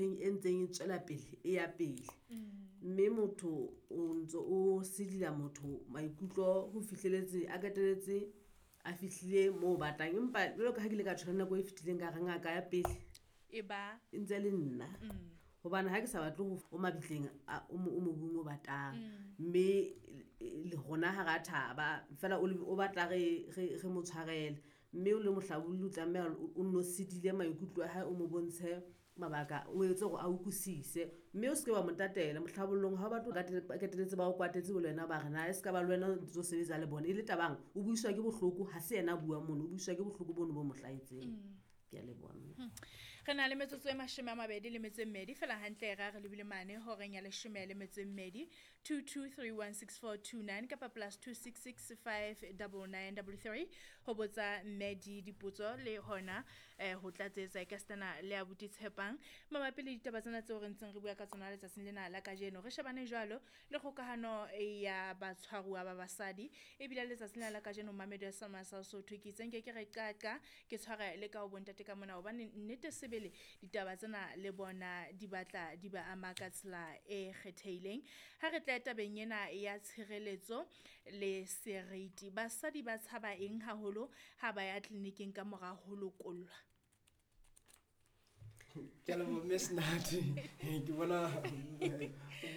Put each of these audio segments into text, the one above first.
e ntseng e tswela pele e ya pele. Mme motho o ntso o sidila motho maikutlo ho fihleletse a qetelletse a fihlile moo o batlang. Empa jwalo ka ha ke ile ka tjho le nako e fetileng ka re ngaka ya pele E ba e ntse le nna. Hobane ha ke sa batle ho o mabitleng o mobung o batang. Mme le rona ha ra thaba, feela o batla re mo tshwarele. Mme o le mohlabolli o tlameha o nno sidile maikutlo a hae, o mo bontshe mabaka, o etse hore a utlwisise. Mme o se ke wa mo tatela mohlabollong ha o batle ba qetelletse ba o kwatetse le wena ba re na e se ka ba le wena o ntso sebetsa le bona. E le tabang, o buiswa ke bohloko, ha se yena a buang mono, o buiswa ke bohloko bono bo mo hlahetseng. Ke a leboha mme. Re na le metsotso e 22 fela hantle ra re lebile mane horeng ya 12. 22316429 kapa +266 59933 ho botsa mme di dipotso le hona ho tlatsetsa e ka sitana le abuti Tshepang mabapi le ditaba tsena tseo re ntseng re bua ka tsona letsatsing lena la kajeno. Re shebane jwalo le kgokahano ya batshwaruwa ba basadi ebile letsatsing lena la kajeno Mamedi wa Selma sa Sotho ke itse nke ke re qaqa ke tshware le ka ho bontate ka mona hobane nnete sebele ditaba tsena le bona di batla di ba ama ka tsela e kgethehileng. Ha re tla tabeng ena ya tshireletso le seriti, basadi ba tshaba eng haholo ha ba ya tleliniking ka mora ho lokollwa? Ke a leboha mme Senate. Ke bona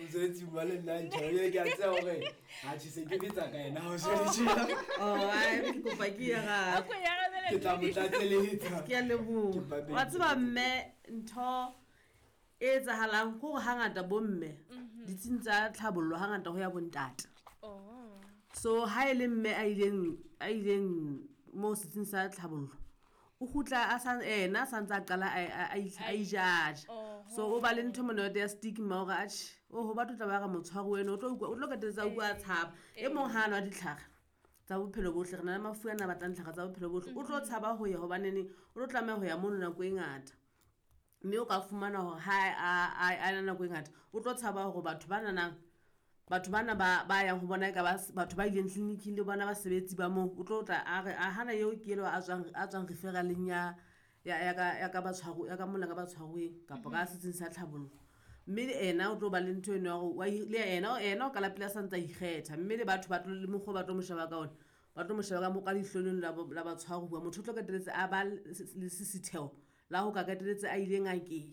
mosebetsi wa le nna ntjha. Ebile ke a tseba hore atjhe se ke betsa ka yena ha o se le tjena. Oh, ai, ke kopa ke ye gae. A ko e arabele Ke tla mo Lady. tlatseletsa. Ke a leboha. Ke babedi. Wa tseba mme, ntho e etsahalang ke hore hangata bo mme, ditsing tsa tlhabollo hangata ho ya bo ntate. So ha e le mme a ileng moo setsing sa tlhabollo, o kgutla a sa, ena a santse a qala a ijaja. So o ba le ntho mona ya stigma hore atjhe, oho, batho tla ba re motshwaro wena, o tlo utlwa, o tlo qetelletse a utlwa a tshaba. E mong ha a nwa ditlhare tsa bophelo bohle, re na le mafu ana a batlang ditlhare tsa bophelo bohle, o tlo tshaba ho ya hobaneneng o tlo tlameha ho ya mono nako e ngata. Mme o ka fumana hore ha a na nako e ngata, o tlo tshaba hore batho ba nanang, batho bana ba yang ho bona e ka ba batho ba ileng tleliniking le bona basebetsi ba moo, o tlo tla a re, a hana eo ke elo a tswang referaleng ya ka batshwaru, ya ka mola ka batshwaruweng, kapa ka setsing sa tlhabollo. Mme le ena o tlo ba le ntho eno ya hore wa le ena o ka la pele a santse a ikgetha. Mme le batho ba tlo, le mokgwa o ba tlo mo sheba ka ona, ba tlo mo sheba ka ka leihlo leno la batshwaruwa. Motho o tlo qetelletse a ba le sesitheo la ho ka qetelletse a ile ngakeng.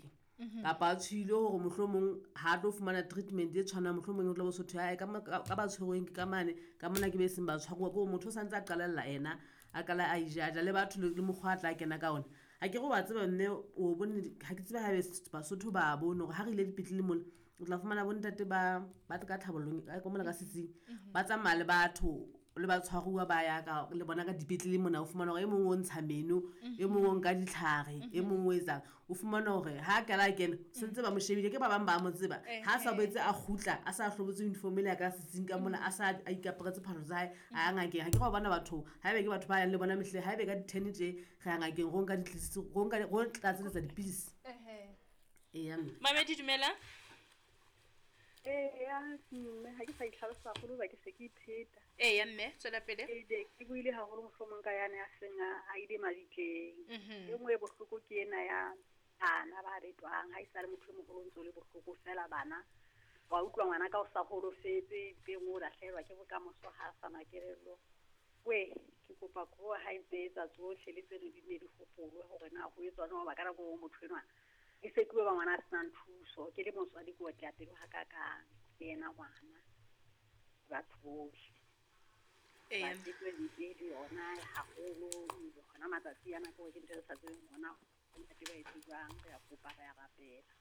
Kapa a tshohile hore mohlomong ha tlo fumana treatment e tshwanang, mohlomong o tlo bo sotho, hae, ka ba tshwerweng ke ka mane, ka mona ke be seng ba tshwaruwa. Ke hore motho o santse a qalella ena, a qala a ijaja le batho le mokgwa a tla kena ka ona. Ha ke re wa tseba mme, o bone, ha ke tsebe haebe Basotho ba bone hore ha re ile dipetlele mona, o tla fumana bontate ba ka tlhabollong, ka mona ka setsing, ba tsamaya le batho, le batshwaruwa ba ya ka, le bona ka dipetlele mona, o fumana hore e mong o ntsha meno, e mong o nka ditlhare, e mong o etsang. O fumana hore ha a qala a kena, sentse ba mo shebile, ke ba bang ba mo tseba. Ha a sa boetse a kgutla, a sa hlobotse uniform ele ya ka setsing ka mona, a sa a ikaparetse phahlo tsa hae, a ya ngakeng. Ha ke re wa bona batho, haebe ke batho ba yang le bona mehleng, haebe ka di-ten tje, re ya ngakeng, ro nka ditlisi, ro nka, ro tlatseletsa dipidisi. Eya, mme. Mamedi, dumela. Eya, mme, ha ke sa itlhalosa haholo hoba ke se ke ipheta. Eya, mme, tswela pele. Ee, ke buile haholo mohlomong ka yane ya seng a ile mabitleng. E nngwe e bohloko ke ena ya bana ba betwang, ha e sa le motho e moholo o ntso le bohloko fela bana. Wa utlwa ngwana ka o sa holofetse, mpeng o lahlehelwa ke bokamoso ha a sa na kelello. We, ke kopa ko ha e ntse etsa tsohle le tseno di ne di hopolwe hore na ho etswa jwang, hoba ka nako e nngwe motho enwa e se tloha ba ngwana a senang thuso. Ke le motswadi ke otleha pelo hakakang, le yena ngwana, batho bohle. Eya. Ba tsebe ntse le yona haholo, hona matsatsi ana ke hore ke ntho e re sa tsebeng hona ntate ba etse jwang, re a kopa, re a rapela.